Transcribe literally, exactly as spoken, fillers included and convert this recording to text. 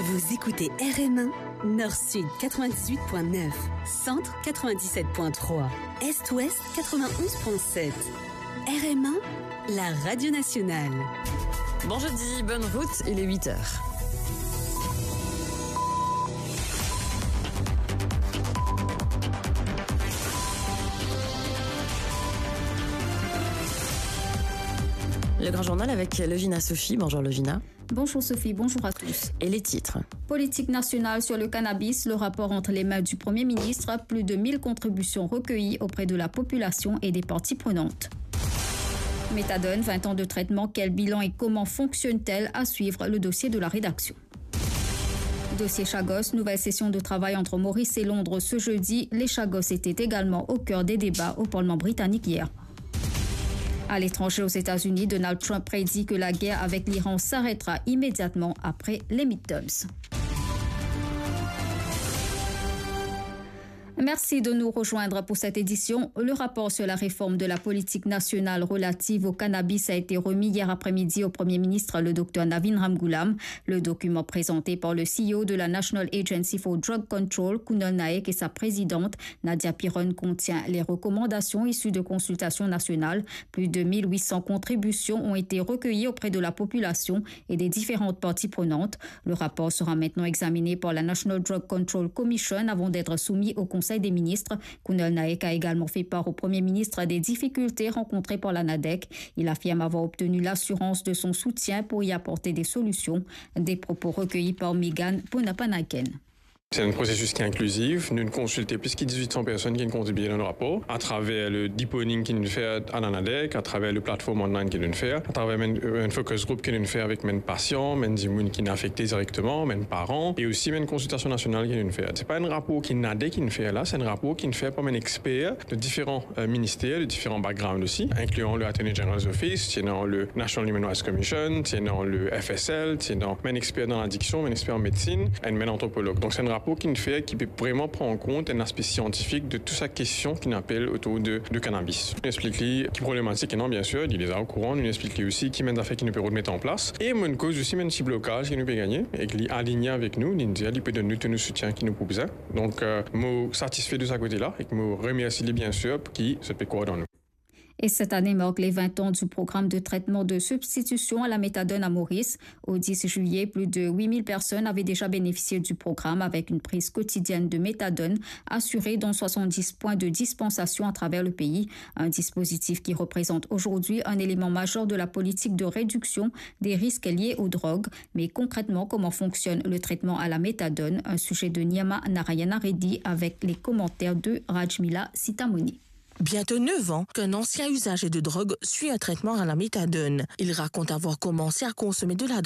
Vous écoutez R M un, Nord-Sud quatre-vingt-dix-huit point neuf, Centre quatre-vingt-dix-sept point trois, Est-Ouest quatre-vingt-onze point sept. R M un, la radio nationale. Bon jeudi, bonne route, il est huit heures. Le grand journal avec Lovina Sophie. Bonjour Lovina. Bonjour Sophie, bonjour à tous. Et les titres. Politique nationale sur le cannabis, le rapport entre les mains du Premier ministre, plus de mille contributions recueillies auprès de la population et des parties prenantes. Méthadone, vingt ans de traitement, quel bilan et comment fonctionne-t-elle ? À suivre le dossier de la rédaction. Dossier Chagos, nouvelle session de travail entre Maurice et Londres ce jeudi. Les Chagos étaient également au cœur des débats au Parlement britannique hier. À l'étranger, aux États-Unis, Donald Trump prédit que la guerre avec l'Iran s'arrêtera immédiatement après les midterms. Merci de nous rejoindre pour cette édition. Le rapport sur la réforme de la politique nationale relative au cannabis a été remis hier après-midi au Premier ministre, le docteur Navin Ramgoolam. Le document présenté par le C E O de la National Agency for Drug Control, Kunal Naik, et sa présidente, Nadia Piron, contient les recommandations issues de consultations nationales. Plus de mille huit cents contributions ont été recueillies auprès de la population et des différentes parties prenantes. Le rapport sera maintenant examiné par la National Drug Control Commission avant d'être soumis au Conseil des ministres. Kunal Naik a également fait part au Premier ministre des difficultés rencontrées par la NADEC. Il affirme avoir obtenu l'assurance de son soutien pour y apporter des solutions. Des propos recueillis par Megan Bonapanaken. Se enn prosesis ki inklizif. Nou konsilte plis ki diz-wit san personn ki kontribie dan le rapor, atraver le deepening ki nou fer a la NADEC, atraver le platform online ki nou fer, atraver menn, euh, enn focus group ki nou fer avek menn pasian, menn dimoun ki afekte direkteman, menn paran, e osi menn konsiltasion nasional ki nou fer. Se pa enn rapor ki NADEC ki nou fer la, se enn rapor ki nou fer par menn exper de diferan, euh, minister, de diferan background osi, inklian le Attorney General's Office, ti ena le National Human Rights Commission, ti ena le F S L, ti ena menn exper dan ladiksion, menn exper an medsinn, e menn antropolog. Donk, se enn rapor ki nou fer ki pe vreman pran kont enn aspe siantifik de tou sa kestion ki nou apel otour de, de cannabis. Nou explik li ki problematik ena, bien sir, li deza okouran, nou explik li osi ki menn zafer ki nou pe rod met an plas, e menn koz osi menn ti blokaz ki nou pe gagne, e ki li aligne avek nou, li dir li pe donn nou tou nou soutien ki nou pou bizin. Donk, euh, mo satisfe de sa kote la, e mo remersi li, bien sir, ki zot pe krwar dan nou. Et cette année marque les vingt ans du programme de traitement de substitution à la méthadone à Maurice. Au dix juillet, plus de huit mille personnes avaient déjà bénéficié du programme avec une prise quotidienne de méthadone assurée dans soixante-dix points de dispensation à travers le pays. Un dispositif qui représente aujourd'hui un élément majeur de la politique de réduction des risques liés aux drogues. Mais concrètement, comment fonctionne le traitement à la méthadone ? Un sujet de Nirma Narayana Reddy avec les commentaires de Rajmila Sitamoni. Bientôt neuf ans qu'un ancien usager de drogue suit un traitement à la méthadone. Il raconte avoir commencé à consommer de la